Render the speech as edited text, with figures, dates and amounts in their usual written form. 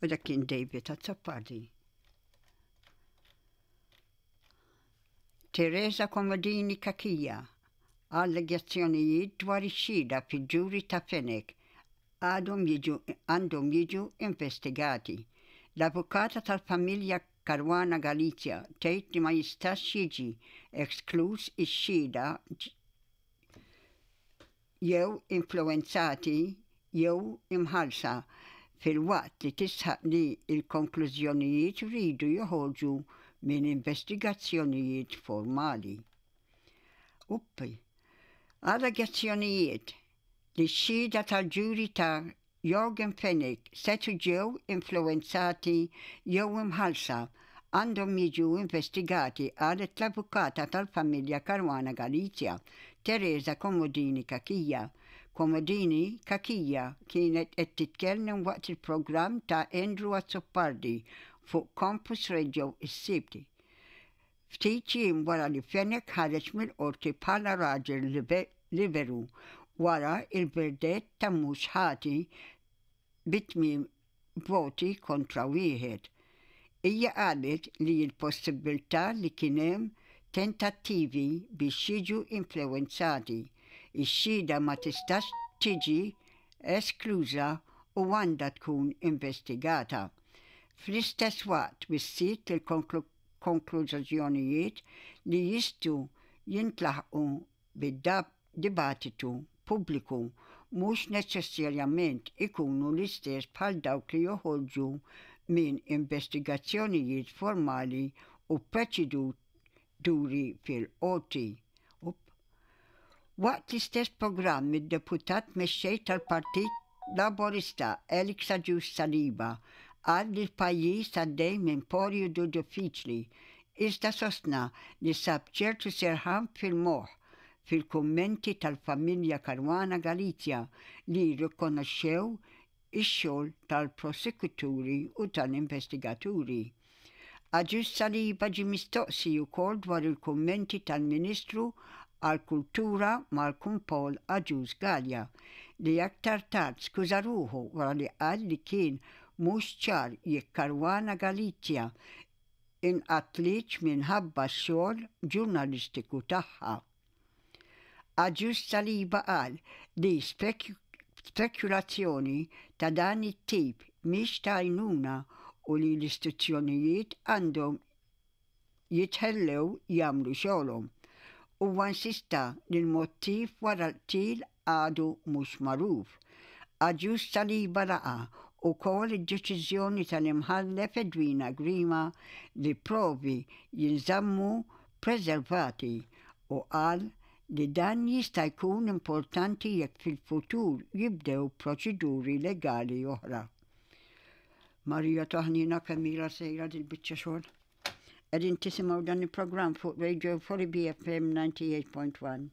U dak kien David Azzopardi. Teresa Comodini Cachia, Allegazzjonijiet dwar ix-xhieda fil-ġuri ta' Fenech għadhom jiġu għandhom jiġu investigati. L-avukata tal-familja Caruana Galizia tgħid li ma jistax jiġi eskluż ix-xhieda jew influwenzati jew imħallsa, filwaqt li tisħaq li l-konklużjonijiet jridu joħorġu minn investigazzjonijiet formali. Uppi. Allegazzjonijiet li x-xhieda tal-ġuri ta' Yorgen Fenech setgħu ġew influwenzati jew imħallsa għandhom jiġu investigati, qalet l-avukata tal-familja Caruana Galizia, Teresa Comodini Cachia. Comodini Cachia kienet qed titkellem waqt il-programm ta' Andrew Azzopardi fuq Campus Radio is-Sibt, ftit jiem wara li Fenech ħareġ mill-Qorti bħala raġel liberu wara l-verdett ta' mhux ħati bi tmiem voti kontra wieħed. Hija qalet li l-possibbiltà li kien hemm tentattivi biex jiġu influwenzati x-xhieda ma tistax tiġi eskluża u għandha tkun investigata. Fl-istess waqt wissiet li l-konklużjonijiet li jistgħu jintlaħqu bid-dibattitu pubbliku mhux neċessarjament ikunu l-istess bħal dawk li joħorġu minn investigazzjonijiet formali u proċeduri fil-qorti. Waqt l-istess programm id-Deputat Mexxej tal-Partit Laburista Alex Agius Saliba qal li l-pajjiż għaddej minn porjodu diffiċli iżda sostna li sab ċertu serħan fil-moħħ fil-kummenti tal-familja Caruana Galizia li rrikonoxxew ix-xogħol tal-prosekuturi u tal-investigaturi. Agius Saliba ġie mistoqsi wkoll dwar il-kummenti tal-Ministru għall-Kultura Malcolm Paul Agius Galea li aktar tard skuża ruħu wara li qal li kien mhux ċar jekk Caruana Galizia inqatlitx minħabba x-xogħol ġurnalistiku tagħha. Agius Saliba qal li spekulazzjoni ta' dan it-tip mhix ta' għajnuna u li l-istituzzjonijiet għandhom jitħellew jagħmlu xogħolhom. Huwa insista li l-mottiv wara l-qtil għadu mhux magħruf. Agius Saliba laqa' ukoll id-deċiżjoni tal-Imħallef Edwina Grima li provi jinżammu preservati u qal li dan jista' jkun importanti jekk fil-futur jibdew proċeduri legali oħra. Marija ta' ħniena kemm ilha sejra dil-biċċa xogħol. Qegħdin tisimgħu dan il-programm fuq Radio Fori BFM 98.1.